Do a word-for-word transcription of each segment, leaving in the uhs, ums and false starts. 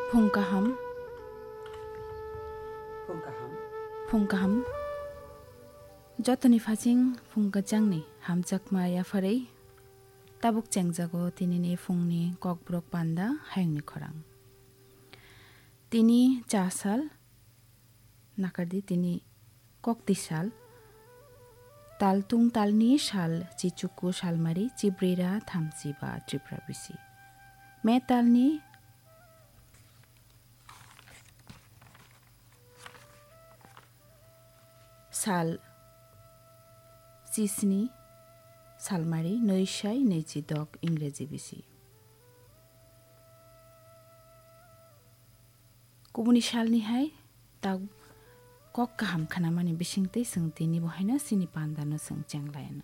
Phung kaham. Phung kaham. Phung kaham. Jotoni phajing phung kwchangni hamjakma yapharwi tabuk chengjago tinini phungni kokborok panda hayungni khorang. Tini cha sal, nakardi tini kokti sal, tal tung talni sal, chichuku salmari, chibrira thamchi ba Tripura bisi. Me talni sal chisni salmari, nwi sai nwi chi dok Ingreji bisi. Kubuni salni hai ta kok kaham khanamani bisingtwi chwng tini bo haino chini pandano chwng chenglaino.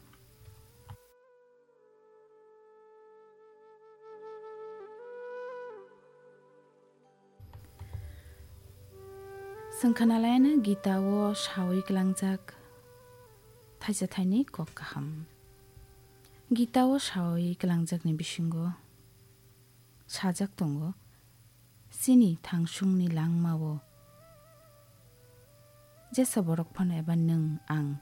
Chwng khanalaino Gita o sawi kwlangjak thaisa thaini kok kaham. Gita o sawi kwlangjakni bisingo sajak tongo, chini thangsungni langmao jesa borok phano eba nwng ang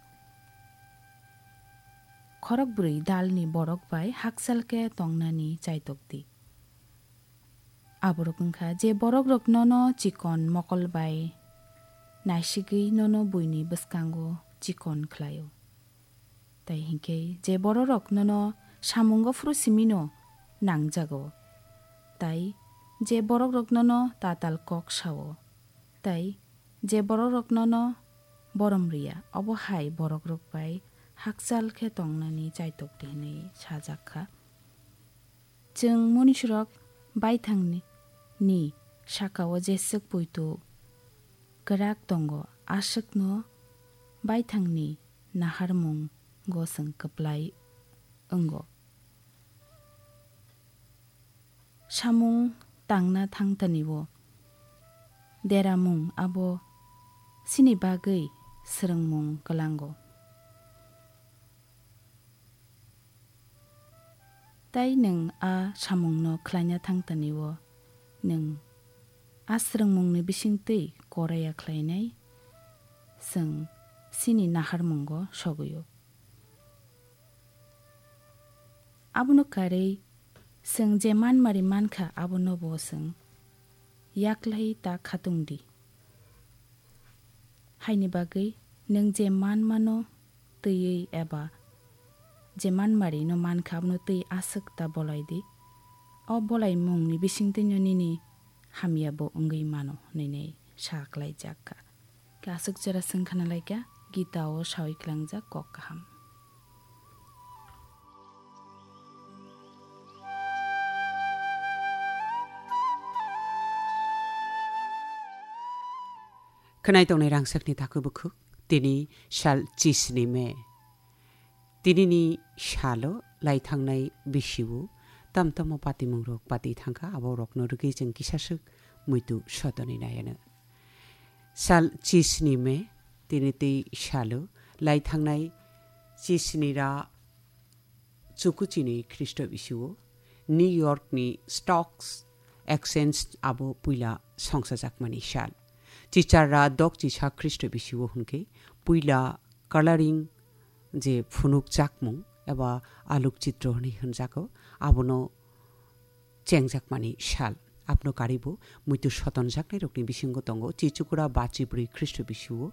khorokbrwi dalni borok bai hakchal khe tongnani chaitok di. Aborok wngkha je borokrok nono chikon mokol bai naisigwi nono buini bwskango chikon khlaio. Tai hinkhe je bororok nono samungo phuru simino nangjago, tai je borokrok nono tatal kok sao, tai je borokrok nono borom riya, obo hai borokrok bai hakchal khe tongnani chaitok di hwnwi sajak kha. Chwng munisrok baithangni, ni sakao jeswk poito kwrak tongo, aswkno baithangni naharmungo chwng kwplai wngo. Samung tangna thangtani-o deramung abo chini bagwi swrwngmung kwlango. Tai nwng a samungno khlaina thangtani-o nwng a swrwngmungni bisingtwi koraya khlainai chwng chini naharmungo sogwi-o. Abono karwi chwng je manmari mankha, abono bo chwng yaklai ta khatung di. Haini bagwi nwng je manmano twiwi eba je manmarino mankha, abono twi aswk ta bolai di. O bolaimungni bisingtwino nini hamya bo wngwi mano, hwnwi sa klaijak kha. Khe aswk jora swng khna lai kha, Gita o sawi klangjak kok kaham. Khwnai tongnai rangchakni takhuk bukhuk, tini sal chisni May. Tinini salo lai thangnai bisi-o tam tamo patimungrok pati thangkha, abo rokno rwgwi chwng kisaswk muitu sodonwi naianw. Sal chisni May, tini tei salo lai thangnai chisni ra chukuchini Khristo bisi-o New York ni Stocks Exchange abo puila songsajakmani sal. Chichar ra dok chisa Khristo bisi-o hwnkhe puila coloring je phunukjakmung eba aluk chitro hwnwi hwnjago, abono chengjakmani sal. Abono karibo muitu sotonjaknairokni bisingo tongo Chichukura bachibrwi Khristo bisi-o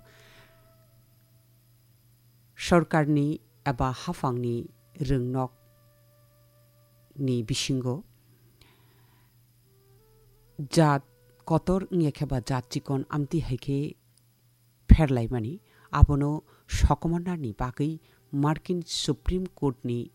sorkarni eba haphangni rwngnok ni bisingo jat kotor wngya khe ba jat chikon amtwi hai khe pherlaimani, abono sokomornani bagwi Markin Supreme Court ni